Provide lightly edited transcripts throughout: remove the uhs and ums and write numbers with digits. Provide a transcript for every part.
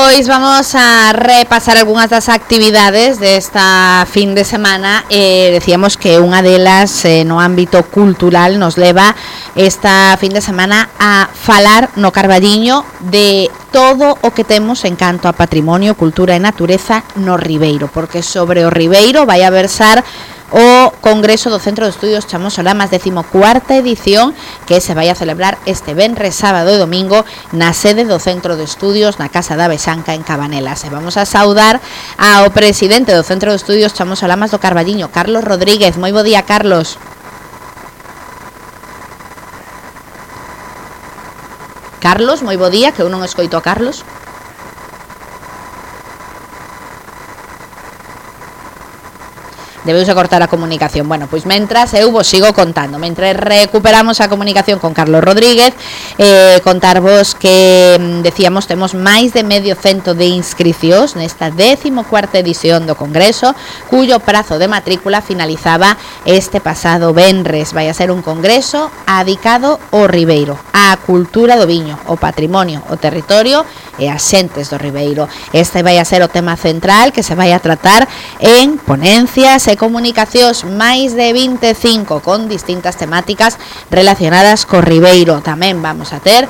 Pois vamos a repasar algunhas das actividades desta fin de semana. Decíamos que unha delas no ámbito cultural nos leva esta fin de semana a falar no Carballiño de todo o que temos en canto a patrimonio, cultura e natureza no Ribeiro, porque sobre o Ribeiro vai a versar o Congreso do Centro de Estudios Chamos Solamas, 14ª edición, que se vai a celebrar este venres, sábado e domingo na sede do Centro de Estudios na Casa da Bexanca en Cabanelas. E vamos a saudar ao presidente do Centro de Estudios Chamos Solamas do Carballiño, Carlos Rodríguez. Moi bo día, Carlos. Carlos, moi bo día, que eu non escoito a Carlos. Debeuse cortar a comunicación. Bueno, pois mentras eu vos sigo contando, mentre recuperamos a comunicación con Carlos Rodríguez, contarvos que decíamos temos máis de medio cento de inscricións nesta 14ª edición do Congreso, cuyo prazo de matrícula finalizaba este pasado venres. Vai a ser un congreso adicado ao Ribeiro, á cultura do viño, o patrimonio, o territorio e as xentes do Ribeiro. Este vai a ser o tema central que se vai a tratar en ponencias e comunicacións, máis de 25 con distintas temáticas relacionadas co Ribeiro. Tamén vamos a ter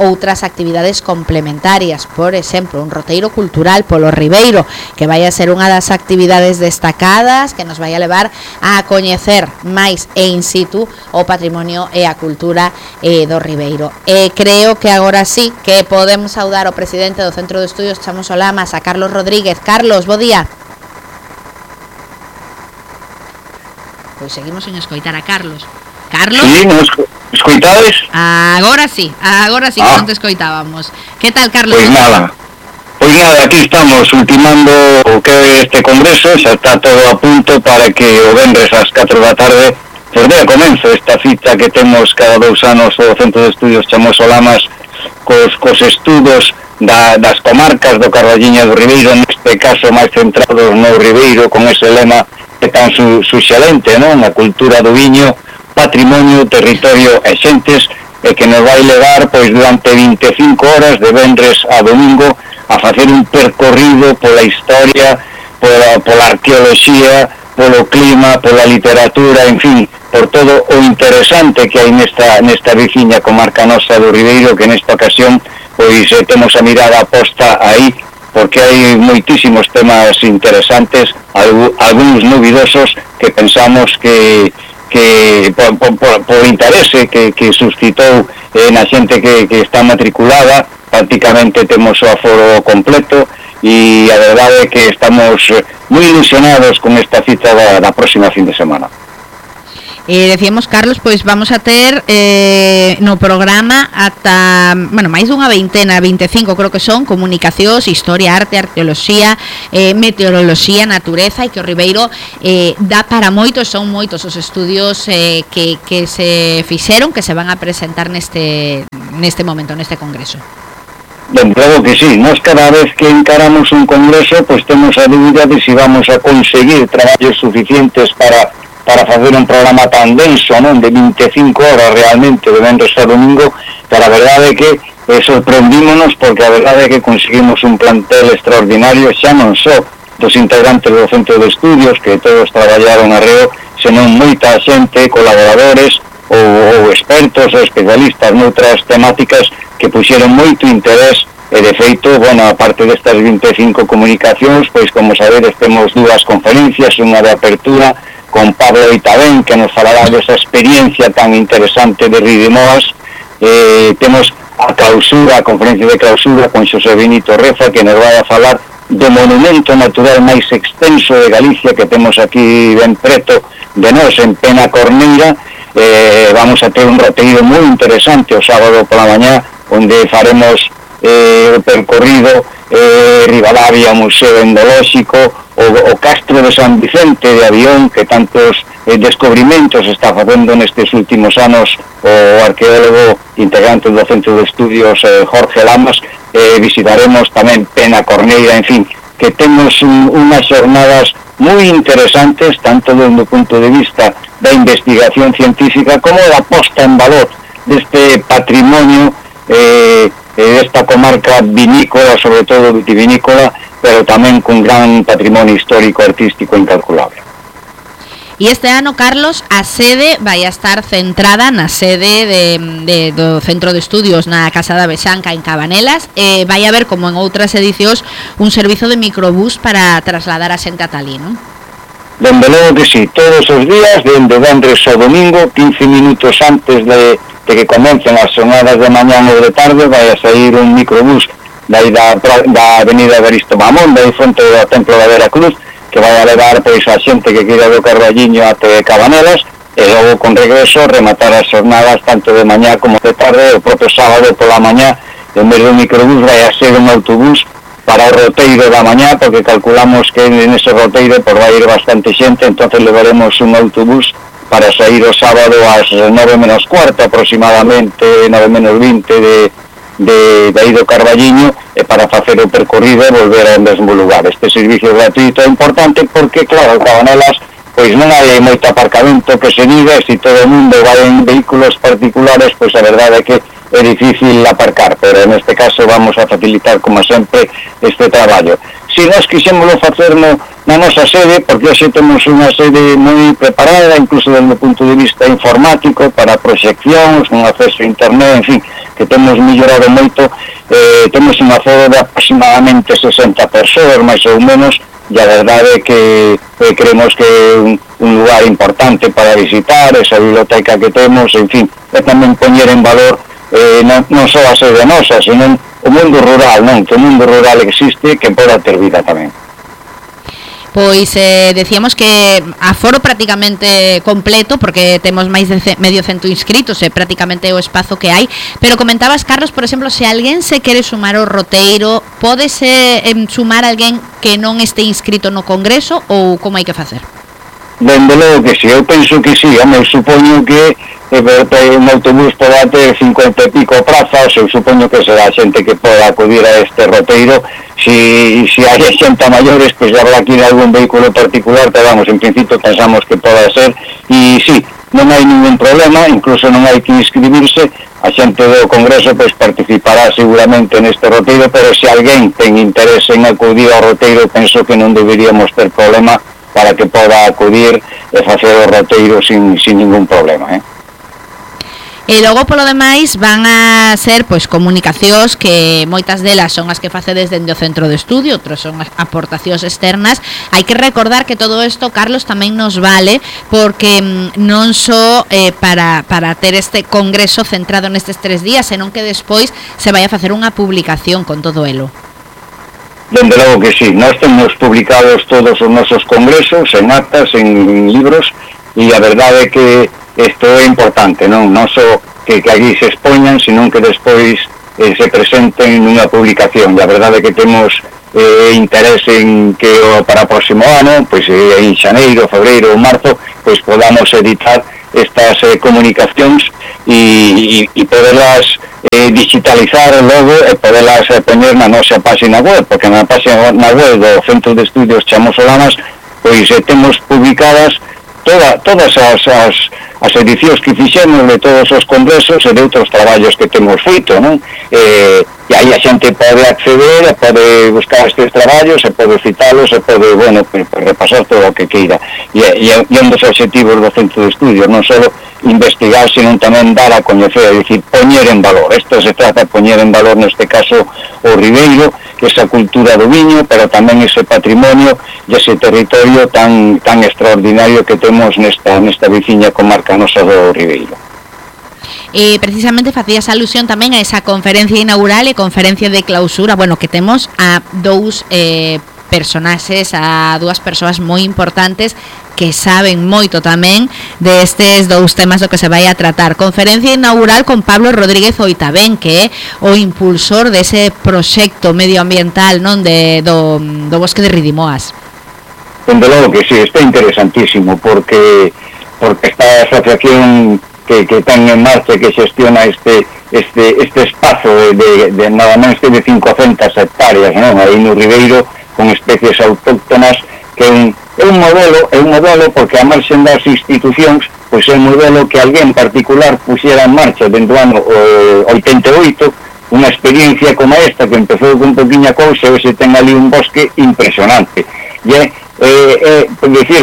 outras actividades complementarias, por exemplo, un roteiro cultural polo Ribeiro, que vai a ser unha das actividades destacadas que nos vai a levar a coñecer máis in situ o patrimonio e a cultura do Ribeiro. Creo que agora sí que podemos saudar ao presidente do Centro de Estudios Chamos Solamas, a Carlos Rodríguez. Carlos, bo día. Pois seguimos sen escoitar a Carlos. Carlos? Sí, nos escoitades? Agora sí que non te escoitábamos. Que tal, Carlos? Pois nada, aquí estamos ultimando o que é este congreso, xa está todo a punto para que o venres ás 4 da tarde pois dea comenzo esta cita que temos cada 2 anos o Centro de Estudios Chamos Solamas cos estudos das comarcas do Carballiño do Ribeiro, neste caso máis centrados no Ribeiro, con ese lema que tan suxerente, non? A cultura do viño, patrimonio, territorio e xentes, e que nos vai levar pois durante 25 horas de venres a domingo a facer un percorrido pola historia, pola arqueoloxía, polo clima, pola literatura, en fin, por todo o interesante que hai nesta veciña comarca nosa do Ribeiro, que nesta ocasión pois temos a mirada posta aí, porque hai moitísimos temas interesantes, algúns novidosos que pensamos que por interese que suscitou na xente que está matriculada. Prácticamente temos o aforo completo e a verdade é que estamos moi ilusionados con esta cita da próxima fin de semana. Decíamos, Carlos, pois vamos a ter no programa ata, máis dunha veintena, 25 creo que son, comunicacións, historia, arte, arqueoloxía, meteoroloxía, natureza, e que o Ribeiro dá para moitos, son moitos os estudios que se fixeron, que se van a presentar neste momento, neste congreso. Ben, claro que sí, nós cada vez que encaramos un congreso, pois temos a dúbida de si vamos a conseguir traballos suficientes para facer un programa tan denso, non, de 25 horas realmente de venres a domingo, pero a verdade é que sorprendímonos, porque a verdade é que conseguimos un plantel extraordinario, xa non só dos integrantes do Centro de Estudios, que todos traballaron arreo, senón moita xente, colaboradores ou expertos ou especialistas noutras temáticas que puxeron moito interés. E de feito, a parte destas 25 comunicacións, pois como sabedes temos 2 conferencias, unha de apertura con Pablo Itabén, que nos falará desa experiencia tan interesante de Ridimoas. Temos a conferencia de clausura con Xosé Benito Reza, que nos vai a falar do monumento natural máis extenso de Galicia que temos aquí ben preto de nós, en Penacorneira. Vamos a ter un roteiro moi interesante o sábado pola mañá, onde faremos o percorrido Ribadavia, Museo Endolóxico, o Castro de San Vicente de Avión, que tantos descubrimentos está facendo nestes últimos anos o arqueólogo integrante do Centro de Estudios Jorge Lamas. Visitaremos tamén Penacorneira, en fin, que temos unhas xornadas moi interesantes, tanto desde o punto de vista da investigación científica como da posta en valor deste patrimonio esta comarca vinícola, sobre todo vitivinícola, pero tamén cun gran patrimonio histórico artístico incalculable. E este ano, Carlos, a sede vai a estar centrada na sede do Centro de Estudios na Casa da Vexanca en Cabanelas. Vai haber, como en outras edicións, un servizo de microbús para trasladar a xente ata ali, non? Dende logo que sí, todos os días, dende vendres ao domingo, 15 minutos antes de que comecen as jornadas de mañán ou de tarde, vai a sair un microbús da avenida Evaristo Mamón, da frente do Templo da Veracruz, que vai a levar pois a xente que queira do Carballiño até Cabanelas, e logo con regreso rematar as jornadas tanto de mañá como de tarde. O propio sábado pola mañá, en vez do microbús, vai a ser un autobús para o roteiro da mañá, porque calculamos que nese roteiro por vai ir bastante xente, entonces levaremos un autobús para sair o sábado ás 9 menos cuarto aproximadamente, 9 menos 20 de aí do Carballiño, para facer o percorrido e volver ao mesmo lugar. Este servicio gratuito é importante porque, claro, Cabanelas pois non hai moito aparcamento que se diga, e se todo o mundo vai en vehículos particulares, pois a verdade é que é difícil aparcar, pero neste caso vamos a facilitar, como sempre, este traballo. Se nós quixémoslo facer na nosa sede, porque hoxe temos unha sede moi preparada, incluso desde o punto de vista informático, para proxeccións, un acceso a internet, en fin, que temos mellorado moito. Temos un aforo de aproximadamente 60 persoas, máis ou menos, e a verdade é que creemos que é un lugar importante para visitar, esa biblioteca que temos, en fin, é tamén poñer en valor non só a sede nosa, senón o mundo rural, non? Que o mundo rural existe, que poda ter vida tamén. Pois decíamos que aforo prácticamente completo, porque temos máis de medio cento inscritos, prácticamente o espazo que hai, pero comentabas, Carlos, por exemplo, se alguén se quere sumar ao roteiro, pódese sumar alguén que non este inscrito no congreso, ou como hai que facer? Dende logo que si, eu penso que si, eu supoño que un autobús poda ter 50 e pico prazas, eu supoño que será xente que poda acudir a este roteiro. Si hai xente a maiores, pois habrá que ir a algún vehículo particular, pero vamos, en principio pensamos que poda ser, e si, non hai ningún problema, incluso non hai que inscribirse, a xente do Congreso pois participará seguramente neste roteiro, pero se alguén ten interés en acudir ao roteiro, penso que non deberíamos ter problema para que poda acudir e facer o roteiro sin ningún problema, E logo, polo demais, van a ser pois comunicacións que moitas delas son as que facedes dende o centro de estudio, outras son as aportacións externas. Hai que recordar que todo isto, Carlos, tamén nos vale porque non só para ter este congreso centrado nestes 3 días, senón que despois se vai a facer unha publicación con todo elo. Dende logo que sí, nós temos publicados todos os nosos congresos en actas, en libros, e a verdade é que isto é importante, non só que aquí se expoñan, senón que despois se presenten nunha publicación. E a verdade é que temos interés en que para o próximo ano, pois en xaneiro, febreiro ou marzo, pois podamos editar estas comunicacións e poderlas digitalizar logo e poderlas poñer na nosa página web, porque na página web do Centro de Estudios Chamo Solanas pois temos publicadas todas as edicións que fixemos de todos os congresos e de outros traballos que temos feito, non? E aí a xente pode acceder, pode buscar estes traballos, e pode citalos, e pode, bueno, repasar todo o que queira. E un dos objetivos do Centro de Estudios, non só investigar, senón tamén dar a coñecer, é dicir, poñer en valor. Isto se trata de poñer en valor, neste caso, o ribeiro, esa cultura do viño, pero tamén ese patrimonio e ese territorio tan extraordinario que temos nesta veciña comarca nosa do Ribeiro. Precisamente facías alusión tamén a esa conferencia inaugural e conferencia de clausura, bueno, que temos a dous personaxes, a dúas persoas moi importantes que saben moito tamén destes dous temas do que se vai a tratar. Conferencia inaugural con Pablo Rodríguez Oitabén, que é o impulsor dese proxecto medioambiental, non, do bosque de Ridimoas. Dende logo que sí, está interesantísimo, porque esta asociación que ten en marcha, que xestiona este espazo de nada menos que de 500 hectáreas, non, aí no Ribeiro, con especies autóctonas, que é un modelo porque a marxen das institucións, pois é un modelo que alguén particular puxera en marcha dentro do ano 88, unha experiencia como esta que empezou con poquinha cousa e se ten ali un bosque impresionante. E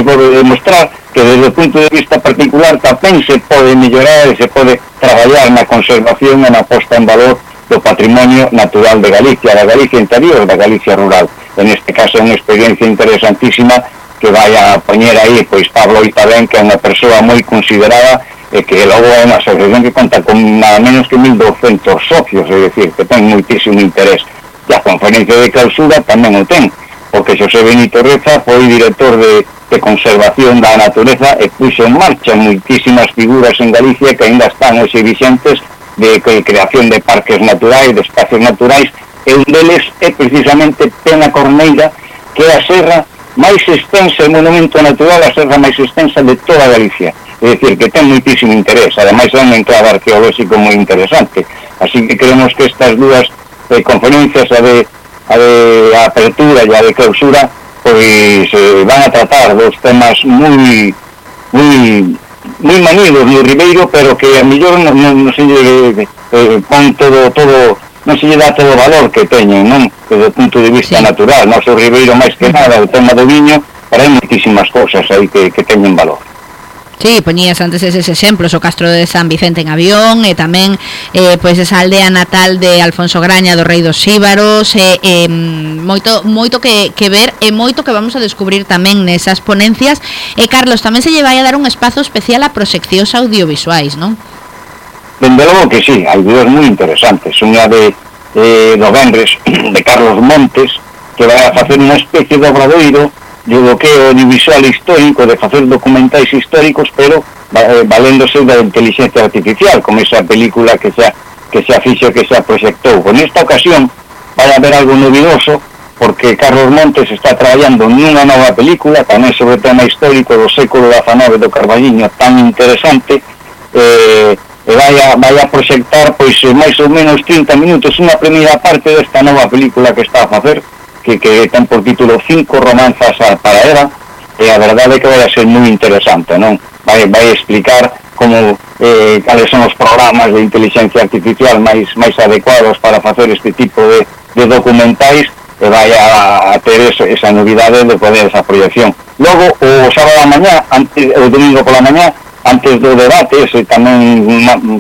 por demostrar que desde o punto de vista particular tamén se pode mellorar e se pode traballar na conservación e na posta en valor do patrimonio natural de Galicia, da Galicia interior, da Galicia rural. En este caso é unha experiencia interesantísima que vai a poñer aí pois Pablo Itabén, que é unha persoa moi considerada e que logo é unha asociación que conta con nada menos que 1.200 socios, é dicir, que ten moitísimo interés. E a conferencia de clausura tamén o ten, porque Xosé Benito Reza foi director de conservación da natureza e puxo en marcha moitísimas figuras en Galicia que ainda están hoxe vixentes de creación de parques naturais, de espacios naturais, e un deles é precisamente Pena Corneira, que é a serra máis extensa, o monumento natural, a serra máis extensa de toda Galicia. É dicir, que ten moitísimo interés, ademais é un enclave arqueolóxico moi interesante. Así que creemos que estas dúas conferencias, a de apertura e a de clausura, pois van a tratar dos temas moi manidos no Ribeiro, pero que a mellor non se lle pon todo, non se lle dá todo o valor que teñen, non? Desde o punto de vista natural, non o Ribeiro máis que nada, o tema do viño, pero hai moitísimas cousas aí que teñen valor. Sí, poñías antes eses exemplos, o Castro de San Vicente en Avión, e tamén pois esa aldea natal de Alfonso Graña do Rei dos Xíbaros, moito que ver e moito que vamos a descubrir tamén nesas ponencias. E Carlos, tamén se lle vai a dar un espazo especial a proxeccións audiovisuais, non? Dende logo que sí, hai dúas moi interesantes. Unha do Vendres, de Carlos Montes, que vai a facer unha especie de obradoiro do que é o audiovisual histórico, de facer documentais históricos, pero valéndose da inteligencia artificial, como esa película que xa fixo, que xa proxectou. En esta ocasión vai haber algo novidoso, porque Carlos Montes está traballando nunha nova película, tamén sobre o tema histórico do século XIX do Carballiño, tan interesante, e vai a proxectar pois máis ou menos 30 minutos unha primeira parte desta nova película que está a facer, que ten por título 5 romanzas para Eva, e a verdade é que vai a ser moi interesante, non? Vai explicar como cales son os programas de inteligencia artificial máis adecuados para facer este tipo de documentais, e vai a ter esa novidade de poder esa proyección. Logo, o sábado a mañá, o domingo pola mañá, antes do debate, ese tamén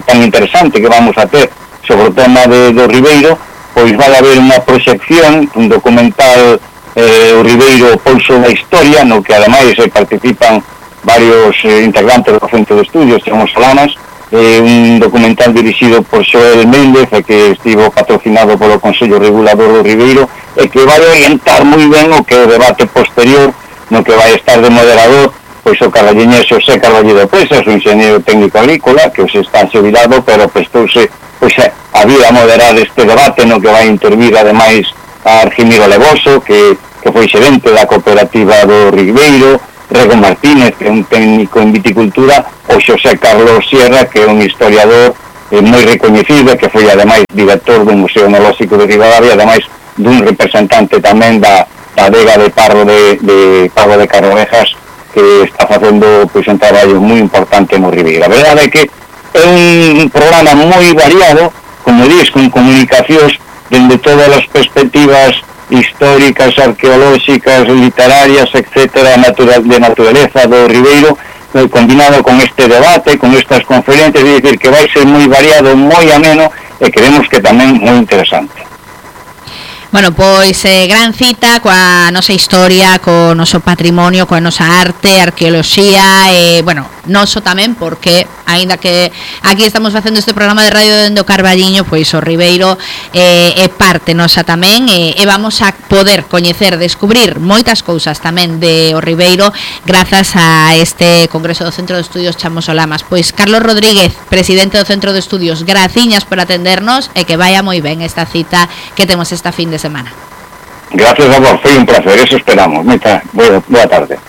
tan interesante que vamos a ter sobre o tema do Ribeiro, pois vai haber unha proxección, un documental o Ribeiro, o Pulso da Historia, no que ademais participan varios integrantes do Centro de Estudios, Chamos Solanas, un documental dirixido por Xoel Méndez, que estivo patrocinado polo Consello Regulador do Ribeiro, e que vai orientar moi ben o que é o debate posterior, no que vai estar de moderador pois o carballiñés Xosé Carballido Presas, o enxeñeiro técnico agrícola, que hoxe está xubilado, pero prestouse pois a vir a moderar este debate, no que vai intervir ademais a Argimiro Levoso, que foi xerente da cooperativa do Ribeiro, Rego Martínez, que é un técnico en viticultura, o Xosé Carlos Sierra, que é un historiador moi recoñecido, que foi ademais director do Museo Etnolóxico de Ribadavia, ademais dun representante tamén da adega de Parro de Carrovejas, que está facendo pois un traballo moi importante no Ribeiro. A verdade é que é un programa moi variado, como dis, con comunicacións dende todas as perspectivas históricas, arqueolóxicas, literarias, etcétera, de naturaleza do Ribeiro, combinado con este debate, con estas conferencias, é dicir, que vai ser moi variado, moi ameno, e creemos que tamén moi interesante. Bueno, pois gran cita coa nosa historia, co noso patrimonio, coa nosa arte, arqueoloxía, bueno, noso tamén, porque aínda que aquí estamos facendo este programa de radio dende o Carballiño, pois o Ribeiro é parte nosa tamén, e vamos a poder coñecer, descubrir moitas cousas tamén de o Ribeiro grazas a este Congreso do Centro de Estudios Chamos Solanas. Pois Carlos Rodríguez, presidente do Centro de Estudios, graciñas por atendernos, e que vaya moi ben esta cita que temos esta fin de semana. Gracias a vos, foi un placer, eso esperamos. Boa tarde.